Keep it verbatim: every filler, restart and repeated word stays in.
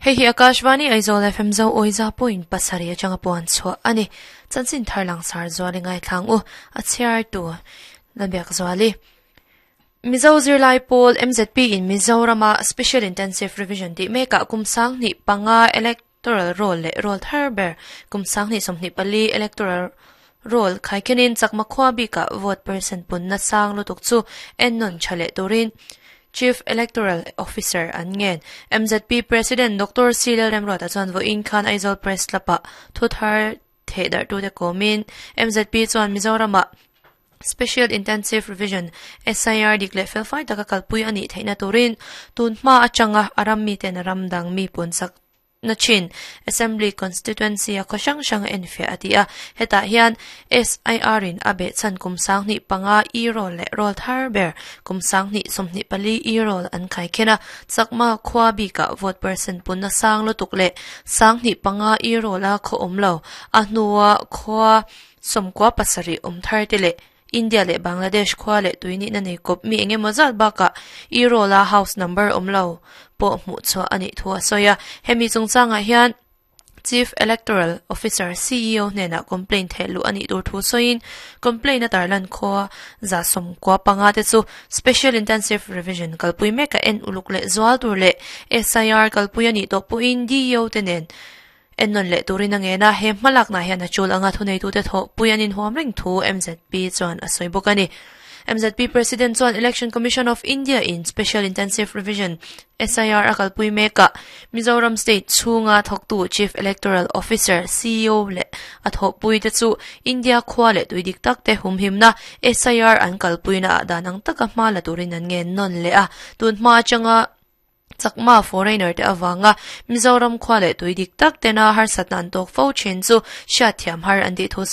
Hei hi Akashvani Aizawl F M zo oiza point pasari atanga puan chua ani chanchin tharlang sar zuali ngai thlang u a chhiar tu lambiak zuali Mizo Zirlai Pawl M Z P in Mizorama Special Intensive Revision ti meka kumsang ni panga electoral roll le roll tharber kumsang ni somni pali electoral roll khaikenin chakma khwa bi ka vote percent pun na sang lutuk chu ennon chale turin Chief Electoral Officer an ngen M Z P President Doctor Silel Remrota chuan vo in khan Aizawl Press lapa thuthar thedar tu te komin M Z P chuan Mizorama Special Intensive Revision S I R dik le felfai taka kalpui ani theina turin tun hma atanga aram mi ten ramdang mi pun sak na chin Assembly Constituency a khoshang shang enfia atia heta hian S I R in abe chan kumsang ni panga e roll le roll thar ber kumsang ni somni pali e roll an khai khena chakma khwa bi ka vote percent pun na sang lo tuk le sang ni panga e roll a kho omlo a hnuwa khwa somkwa pasari om thar te le India le Bangladesh khwa le tuini na nei kop mi enge mozal baka e roll a house number omlo po mu chwa ani thua soya hemi chungchanga hian Chief Electoral Officer C E O nena complaint thelu ani tur thu soin complaint a tarlan kho za som kwa panga te chu Special Intensive Revision kalpui meka en uluk le zwal tur le S I R kalpui ani to pu in D O te nen ennon le turin ange na he malak na hian a chul anga thunei tu te tho puianin huam reng thu M Z P chuan a soi bawk ani. M Z P President chuan Election Commission of India in Special Intensive Revision S I R akalpui meka Mizoram State chunga thoktu Chief Electoral Officer C E O le a thopui te chu India khwa le tuidik tak te humhimna S I R an kalpuina danang taka hma la turin an nge non le a tun hma changa chakma foreigner te awanga Mizoram khwa le tuidik tak tena har satnan tok fo chen chu sha thiam har an ti thu